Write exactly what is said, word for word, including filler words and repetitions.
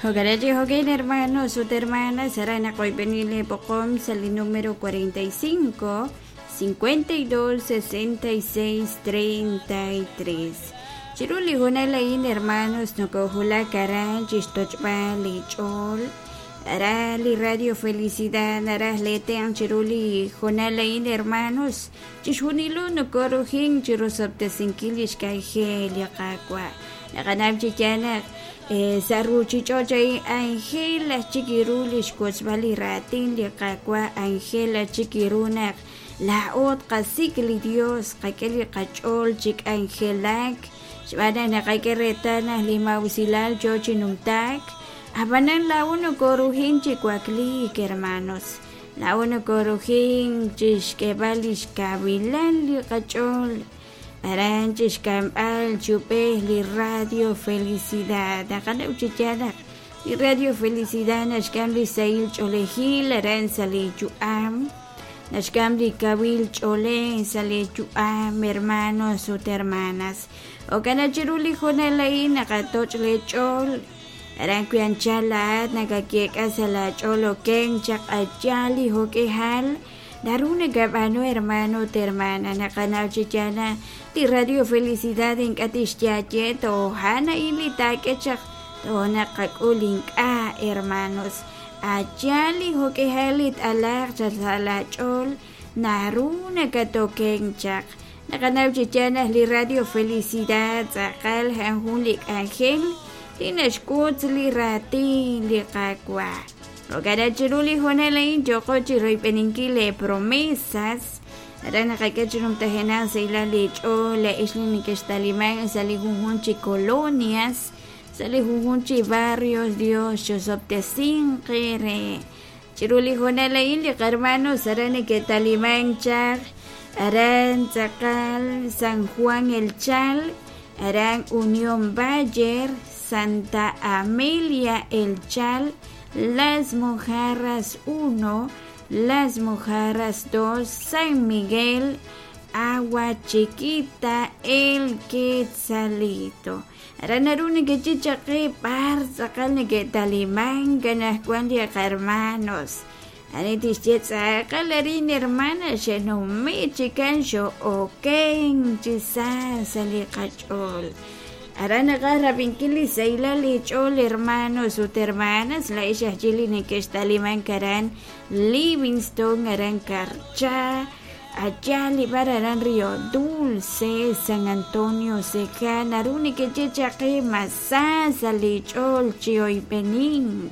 Jo'kan jo'kan hermanos ut hermanas aran naqoyb'eni le b'oqom sa' li número cuarenta y cinco, cincuenta y dos, sesenta y seis, treinta y tres. Chiru li hoonal a'in hermanos nokojulak aran chixtoch'b'al li ch'ool aran li Radio Felicidad naraj letean chiru li hoonal a'in hermanos chixjunilo nokorujin chirusob'tesinkil li xk'anjel li Qaawa' naqanab' chi yaal naq sa' ruchich'och' a'in Angela chikiru li xwotzb'al li raatin li Qaawa' Angela chikiru naq laa'ot qasik li Dios qak'e li qach'ool chik'anjelak xb'aan naq naqak'e reetal naq li mawsilal yo chi numtaak ab'anan la'o nokorujin chi wakliik hermanos la'o nokorujin chixk'eb'al li xkawilal li qach'ool aran chixk'amb'al chupej li Radio Felicidad naqanaw chi yaal naq li Radio Felicidad naxk'am li sahil ch'oolejil aran sa' li yu'am naxk'am li kawil ch'oolej sa' li yu'am hermanos ut hermanas jo'kan chiru li hoonal a'in naqatoch' li ch'ool aran wi anchal laa'at nakakek'a sa' laach'ool oken chaq ayal li jo'k'ejal naru nakab'aanu hermano ut hermana naqanaw chi yaal naq li Radio Felicidad ink'a' tixyaye tojan a'in li taak'e chaq toonaq qak'ul ink'a' hermanos ayal li jo'k'ejal li t'alaq chaq sa' laach'ool naru nakatoken chaq naqanaw chi yaal naq li Radio Felicidad tz'aqal a'an jun li k'anjel li naxk'ut li raatin li Qaawa' jo'kan chiru li hoonal a'in yo'qo chi royb'eninkil le promesas aran naqak'e chi numtajenaq sa' li ch'ool la'ix li neke'xtaliman sa' li junjun chi colonias sa' li junjun chi barrios Dios chosob'tesinqe re chiru li hoonal a'in li qarmanos aran neke'taliman chaq aran tz'aqal San Juan El Chal aran Unión Bayer Santa Amelia El Chal Las Mojarras uno, Las Mojarras dos, San Miguel, Agua Chiquita, El Quetzalito. Aran naru nekechichaqi b'ar tz'aqal neke'taliman kanajwan li qarmanos. Ani tixye tz'aqal arin hermana xe'numi chikan xo'oken chisa sa' li qach'ool. Aran naqaj rab'inkil li sahilal li ch'ool hermanos ut hermanas la'ix aj chili neke'xtaliman aran Livingston aran Carchá allá li bar aran Río Dulce San Antonio Seja naru neke'chechaqi masá sa' li ch'ool chi oyb'enin.